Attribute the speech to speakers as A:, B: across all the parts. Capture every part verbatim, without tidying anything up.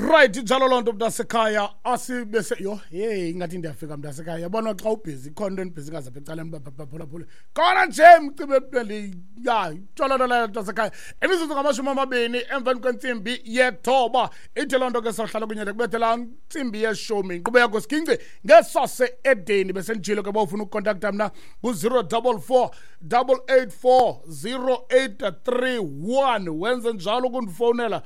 A: Right, njalo loo nto, mntasekhaya. Asibese yho, hey, ingathi ndiyafika, mntasekhaya. Yabona xa ubhizi, ikhona into endibhizi ngazapha ecaleni, baphulaphule khona nje mcimbi ya tsho loo nto leyo, mntasekhaya. Imizuzu ngamashumi amabini emveni kwentsimbi yethoba. Ithi loo nto ke sawuhlala kunye kubethela ntsimbi yeshumi. Inkqubo yakho Siginci ngesase edeni. Besenditshilo ke, bawufuna ukukontakta mna ngu-zero double four double eight four zero eight three one. Wenze njalo ukundifowunela.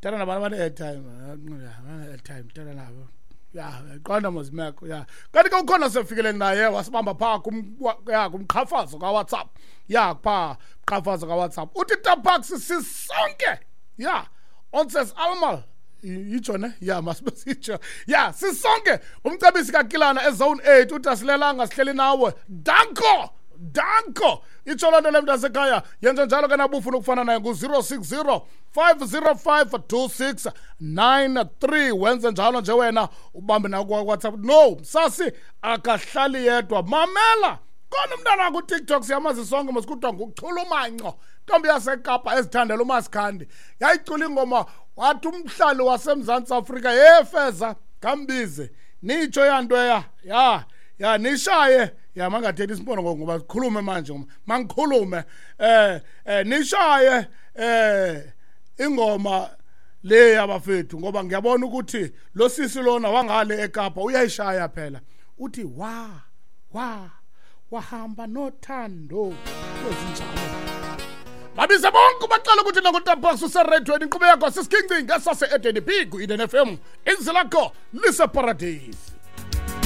A: Thetha nabantu abane-airtime, abane-airtime, thetha nabo. Ya, qonda mos imeko ya. Kanti ke ukhona sefikele naye wasibamba phaa kum, ya, kumqhafazo kaWhatsApp. Ya, phaa mqhafazo kaWhatsApp. Uthi, "Tabax, sisonke." Ya, ons is almal. Itsho ne? Ya, masibe sitsho. Ya, sisonke. Umcebisi kaKilana eZone eight uthi asilelanga, sihleli nawe. Danko! Danko! Itsho loo nto le, mntasekhaya. Yenza njalo ke nabufuna ukufana naye ngu-zero six zero five zero five two six nine three. Wenze njalo nje wena ubambe nawo kwaWhatsApp. No, sasi akahlali yedwa. Mamela. Khona umntana kuTikTok, siyamazi sonke mos, kuthiwa nguChulumanco. Ntombi yaseKapa ezithandela uMasikhandi. Yayicula ingoma wathi umhlali waseMzantsi Afrika, "Hey feza kambize." Nitsho yanto ya. Ya. Ya, nishaye. Ya, mangathethi isipono ngoba sikhulume manje, mangikhulume. Eh eh nishaye eh ingoma le yabafethu, ngoba ngiyabona ukuthi lo sisi lona wangale eKapa uyayishaya phela. Uthi wa wa wahamba nothando kwezinjalo. Babize bonke, baqala ukuthi nangoTabax useredweni. Inkqubo yakho sisiginci ngesase Eden B ku Eden F M. Izwi lakho lise paradise.